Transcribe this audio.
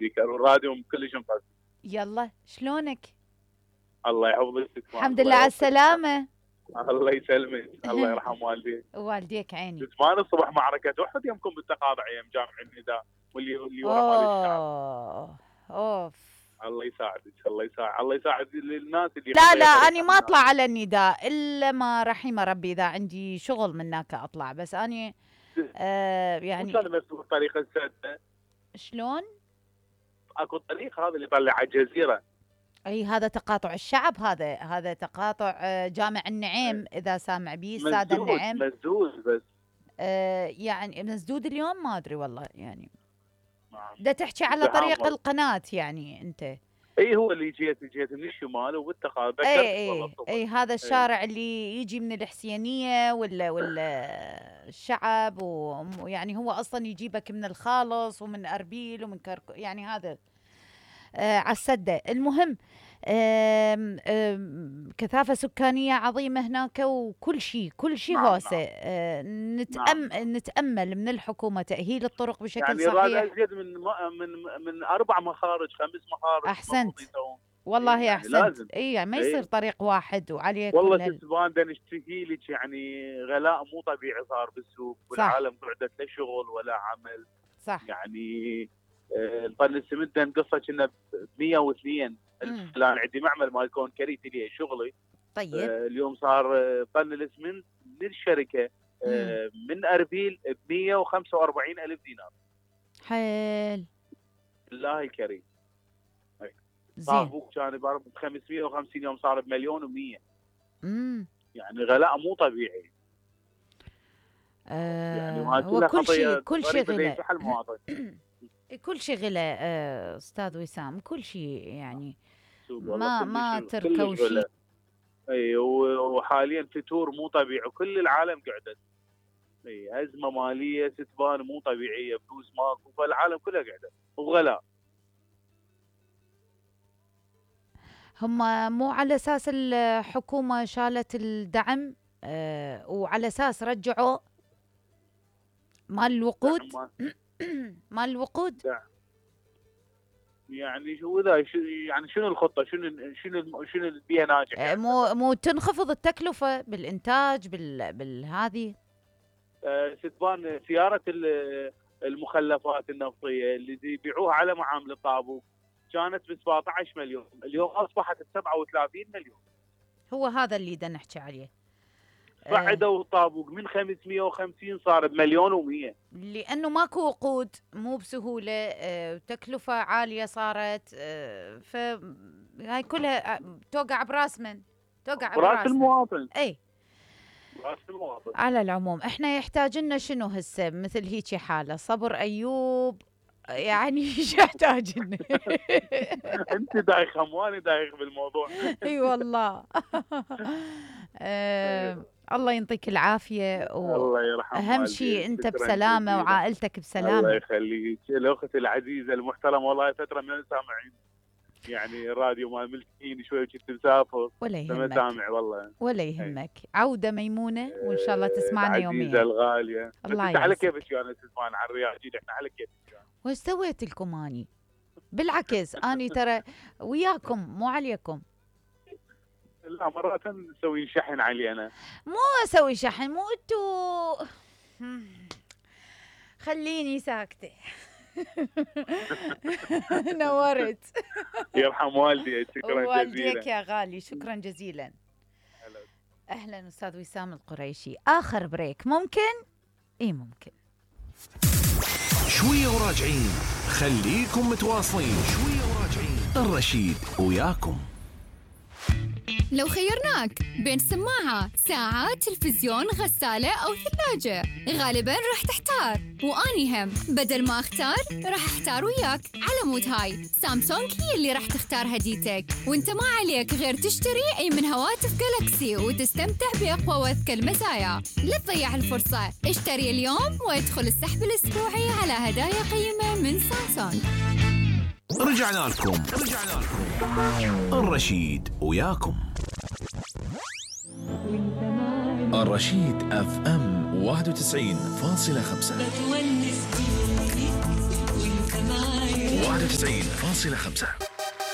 السبيكر والراديو كلش مقصر. يلا شلونك؟ الله يحفظك. الحمد لله على السلامة. الله يسلمك. الله يرحم والديك. والديك عيني. زمان الصبح معركة أحد يمكم بالتقاطع ايام جامع النداء واللي ورا مال الشعب. اوف. الله يساعدك. الله يساعد الناس اللي لا أنا ما أطلع على النداء إلا ما رحم ربي، إذا عندي شغل من هناك أطلع، بس أنا يعني كان مسؤول طريقة السادة. شلون؟ اكو الطريق هذا اللي طلع على الجزيرة. اي هذا تقاطع الشعب، هذا تقاطع جامع النعيم، اذا سامع بيه السادة النعيم. مسدود بس يعني مسدود اليوم ما ادري والله، يعني دا تحكي على طريق القناة يعني انت. اي هو اللي جيت من الشمال وبالتقاطع. اي هذا الشارع اللي يجي من الحسينية ولا الشعب، ويعني هو اصلا يجيبك من الخالص ومن اربيل ومن يعني هذا على السدة. المهم كثافة سكانية عظيمة هناك، وكل شيء هوسة. نتأمل من الحكومة تأهيل الطرق بشكل يعني صحيح. يعني أزيد من 4 مخارج 5 مخارج. أحسنت والله يعني أحسنت. يعني ما يصير طريق واحد وعليه والله تسبان دا نشتكي لك، يعني غلاء مو طبيعي صار بالسوق والعالم قعدت لا شغل ولا عمل. صح. يعني طن السمنت انقصه كنا ب 102 الف. الان عندي معمل مال كونكريت لي شغلي. طيب اليوم صار طن الاسمنت للشركه من اربيل ب 145 الف دينار. حيل الله الكريم. زين. كان ب 550 يوم صار بمليون و100. يعني غلاء مو طبيعي. يعني هو كل شيء غلاء. كل شيء غلا استاذ وسام، كل شيء يعني ما تركوا شيء. اي وحاليا فتور مو طبيعي وكل العالم قعدت. اي ازمه ماليه ستبان مو طبيعيه، فلوس ماكو، فالعالم كلها قعدت وغلاء. هم مو على اساس الحكومه شالت الدعم وعلى اساس رجعوا مال الوقود. مال الوقود يعني شو ذا؟ يعني شنو الخطه؟ شنو اللي بيها ناجح؟ يعني مو تنخفض التكلفه بالانتاج بالهذه. ستبان سياره المخلفات النفطيه اللي يبيعوها على معامل الطابوق كانت ب 17 مليون، اليوم اصبحت ب 37 مليون. هو هذا اللي بدنا نحكي عليه. بعدوا الطابوق من 550 صار بمليون و100، لانه ماكو وقود، مو بسهوله، تكلفه عاليه صارت. فهاي كلها توقع براس من؟ توقع براس المواطن. اي براس المواطن. على العموم احنا يحتاج لنا شنو هسه مثل هيك حاله؟ صبر ايوب يعني ايش يحتاج لنا؟ انت دايخه وانا دايخ بالموضوع. اي والله. الله يعطيك العافيه الله يرحم اهم شيء انت بسلامه وعائلتك بسلامه. الله يخليك الاخت العزيزه المحترمه، والله فتره من سامعين يعني الراديو ما ملتقين شوي وكنت مسافر ولا يهمك. سامع والله ولا يهمك. عوده ميمونه وان شاء الله تسمعنا يوميا. العزيزه الغاليه. الله انت على كيفك انا تسمعنا على الرياض، احنا على كيفك. وش سويت لكم اني؟ بالعكس اني ترى وياكم مو عليكم. لا مرات نسوي شحن علي انا. مو اسوي شحن، مو انتو خليني ساكته. نورت. يرحم والدي. شكرا جزيلا. والديك يا غالي شكرا جزيلا. اهلا استاذ وسام القريشي. اخر بريك ممكن؟ اي ممكن. شويه وراجعين، خليكم متواصلين. شويه وراجعين، الرشيد وياكم. لو خيرناك بين سماعة، ساعة، تلفزيون، غسالة أو ثلاجة، غالباً راح تحتار، وأني هم بدل ما أختار راح أحتار وياك. على مود هاي سامسونج هي اللي راح تختار هديتك، وانت ما عليك غير تشتري أي من هواتف جالكسي وتستمتع بأقوى وأذكى المزايا. لا تضيع الفرصة، اشتري اليوم وادخل السحب الأسبوعي على هدايا قيمة من سامسونج. رجعنا لكم الرشيد وياكم. الرشيد اف ام 91.5. 91.5.